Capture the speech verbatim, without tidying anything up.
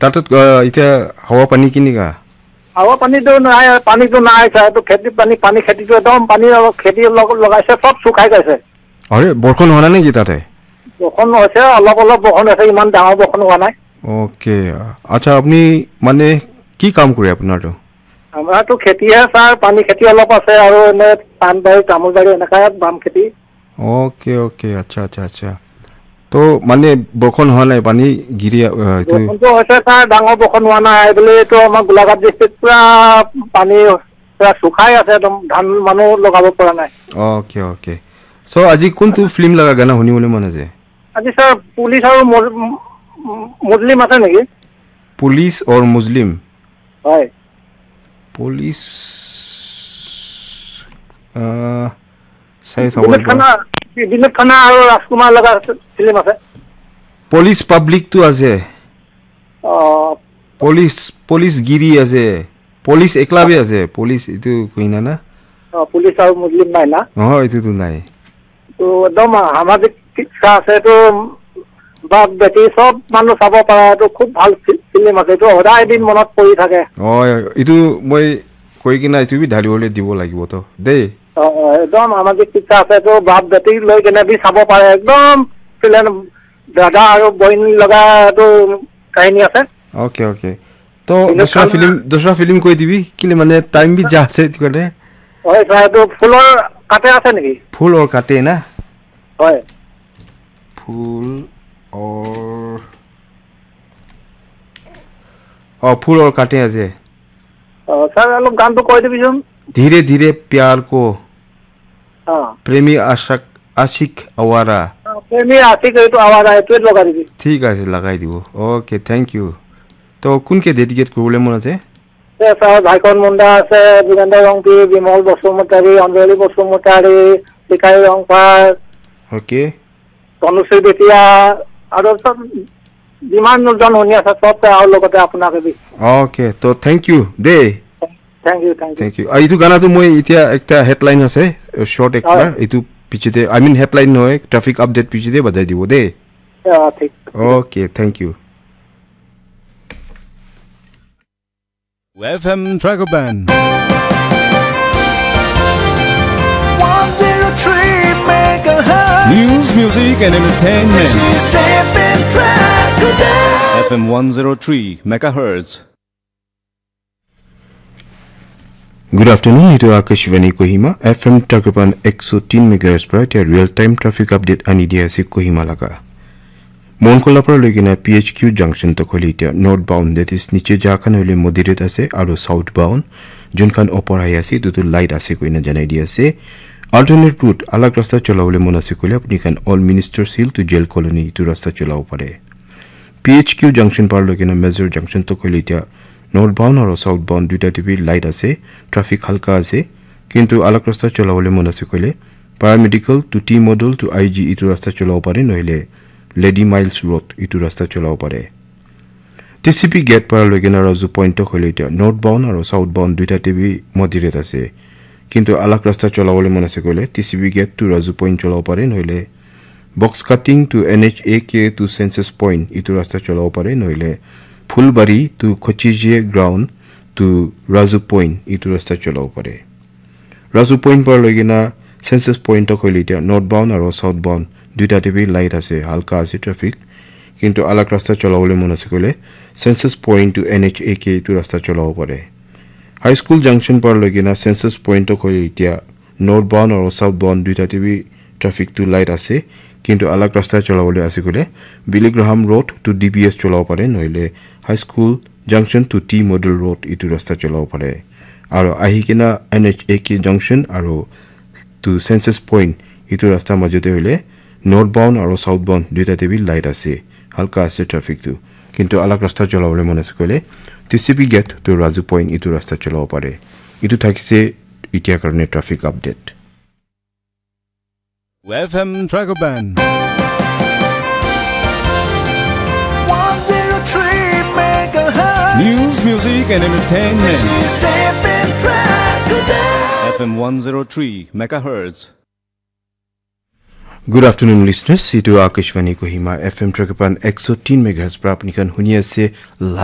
তাত, আহ, এতিয়া হাৱা পানী কেনেকা? হাৱা পানীটো নাই, পানীটো নাই ছাৰ। এইটো খেতি পানী, পানী খেতিটো একদম পানী অলপ খেতি লগ-, লগাইছে, চব শুকাই গৈছে। আৰে, বৰষুণ হোৱা নাই নেকি তাতে? বৰষুণ হৈছে, অলপ অলপ বৰষুণ হৈছে, ইমান ডাঙৰ বৰষুণ হোৱা নাই। অ'কে, আচ্ছা, আপুনি মানে কি কাম কৰে আপোনাৰতো? আমাৰতো খেতিহে ছাৰ, পানী খেতি অলপ আছে আৰু এনে পাণ বাৰী, তামোল বাৰী, এনেকা বাম খেতি। অ'কে, অ'কে, আচ্ছা, আচ্ছা, আচ্ছা। তো মানে বৰষুণ হোৱা নাই, পানী গিৰি, আহ, এইটো বৰষুণটো হৈছে ছাৰ, ডাঙৰ বৰষুণ হোৱা নাই বুলি এইটো আমাৰ গোলাঘাট ডিষ্ট্ৰিক্ট পুৰা পানী পুৰা শুকাই আছে, একদম ধান মানুহ লগাব পৰা নাই। Okay, okay. চ' আজি কোনটো ফিল্ম লগা গানা শুনিবলৈ মন আছে? আজি ছাৰ পুলিচ আৰু মজ-, ম-, ম-, মুছলিম আছে নেকি? পুলিচ অৰ মুছলিম? হয়। পুলিচ, আহ, চাই চাব বিনোদ লাগিব। খান্না, বিনোদ খান্না আৰু ৰাজকুমাৰ লগা ফিল্ম আছে। পুলিচ পাব্লিকটো আছে। অ। পুলিচ, পুলিচ গিৰি আছে। পুলিচ একলা বি আছে। পুলিচ এইটো কইনা না? অ, পুলিচ আৰু মুছলিম নাই না? অ, এইটোতো নাই। তো একদম সামাজিক শিক্ষা আছে, এইটো বাপ বেটি চব মানুহ চাব পাৰে, এইটো খুব ভাল ফি-, ফিল্ম আছে, এইটো সদায় এদিন মনত পৰি থাকে। অ, এইটো মই কৈ কিনে এইটো বি ঢালিবলৈ দিব লাগিব তো দেই। অ, অ, একদম সামাজিক শিক্ষা আছে, এইটো বাপ বেটি লৈ কেনে বি চাব পাৰে, একদম ফিল্ম দাদা আৰু বইন লগা এইটো কাহিনী আছে। Okay, okay. তো বিনোদ দুসৰা খান্না ফিল্ম, দুসৰা ফিল্ম কৈ দিবি, কেলে মানে টাইম বি যা আছে এইটো কাৰণে। হয় ছাৰ, এইটো ফুলৰ কাটে আছে নেকি? ফুল অৰ কাটে না? হয়। ফুল অৰ, অ, ফুল অৰ কাটে আছে। অ, ছাৰ, অলপ গানটো কৈ দিবিচোন। ধীৰে ধীৰে প্যাৰ কো। অ। প্ৰেমী আশাক, আশিক আৱাৰা। অ, প্ৰেমী আশিক এইটো আৱাৰা, এইটোৱে লগাই দিবি। ঠিক আছে, লগাই দিব। Okay, thank you. তো কোনকে ডেডিকেট কৰিবলৈ মন আছে? এ, ছাৰ, ভাইকন মুণ্ডা আছে, যোগেন্দ্ৰ ৰংপি, বিমল বসুমতাৰী, অঞ্জলি বসুমতাৰী, ভিকাৰী ৰংপাৰ, অ'কে। তনুশ্ৰী বেতিয়া, আৰু চব যিমান জন শুনি আছে, চব আৰু লগতে আপোনাকে বি। অ'কে, তো থেংক ইউ দেই। Thank you, thank you. Thank you. আৰু এইটো গানাটো মই এতিয়া একটা হেডলাইন আছে, শ্বৰ্ট একটা, হয়। এইটো পিছতে, আই মিন হেডলাইন নহয়, ট্ৰাফিক আপডেট পিছতে বজাই দিব দেই। অ, ঠিক। Okay, thank you. F M Dragon Band. One zero three megahertz. News, music and entertainment. This is F M Dragon Band. F M one zero three megahertz. Good afternoon, এইটো আকাশবাণী Kohima, F M Dragon Band একশ তিন megahertz পৰা এতিয়া real time traffic update আনি দিয়া আছে কহিমা লাগা। মনকলা পৰা লৈ কিনে P H Q junction তকলৈ এতিয়া north bound, that is নিচে যা খান হ'লে moderate আছে আৰু south bound যোনখন ওপৰ আহি আছে এইটোতো light আছে কৈ না জনাই দি আছে। Alternate route, আলাগ ৰাস্তা চলাবলৈ মন আছে ক'লে আপুনি খান Old Ministers Hill to Jail Colony এইটো ৰাস্তা চলাব পাৰে। P H Q junction পাৰ লৈ কিনে major junction তকলৈ এতিয়া north bound আৰু south bound দুইটাতে বি light আছে, traffic হালকা আছে, কিন্তু আলাগ ৰাস্তা চলাবলৈ মন আছে ক'লে Paramedical to T Model to I G এইটো ৰাস্তা চলাব পাৰে, নহ'লে Lady Miles Road এইটো ৰাস্তা চলাব পাৰে। T C P gate পৰা লৈ কিনে ৰাজু point তকলৈ এতিয়া north bound আৰু south bound দুইটাতে বি moderate আছে, কিন্তু আলাগ ৰাস্তা চলাবলৈ মন আছে ক'লে T C P gate to Raju point চলাব পাৰে, নহ'লে box cutting to N H A K to census point এইটো ৰাস্তা চলাব পাৰে, নহ'লে ফুলবাৰী to Kochije ground to Raju point এইটো ৰাস্তা চলাব পাৰে। ৰাজু point পৰা লৈ কিনে census point তকলৈ এতিয়া north bound আৰু south bound দুইটাতে বি light আছে, হালকা আছে traffic, কিন্তু আলাগ ৰাস্তা চলাবলৈ মন আছে ক'লে census point to N H A K এইটো ৰাস্তা চলাব পাৰে। High School junction পৰা লৈ কিনে census point তকলৈ এতিয়া north bound আৰু south bound দুইটাতে বি trafficটো light আছে, কিন্তু আলাগ ৰাস্তা চলাবলৈ আছে ক'লে Billy Graham Road to D B S চলাব পাৰে, নহ'লে High School junction to T Model Road এইটো ৰাস্তা চলাব পাৰে। আৰু আহি কিনে N H A K junction আৰু to census point এইটো ৰাস্তাৰ মাজতে হ'লে north bound আৰু south bound দুইটাতে বি light আছে, হালকা আছে trafficটো, কিন্তু আলাগ ৰাস্তা চলাবলৈ মন আছে ক'লে T C P gate to Raju point এইটো ৰাস্তা চলাব পাৰে। এইটো থাকিছে এতিয়াৰ কাৰণে traffic update। F M Dragon Band. One zero three megahertz. News, music and entertainment. This is F M Dragon Band. F M one zero three megahertz. Good afternoon, listeners. Etu Akashvani Kohima F M Trakipan ekso tin megahertz pra apni khan huni ase live.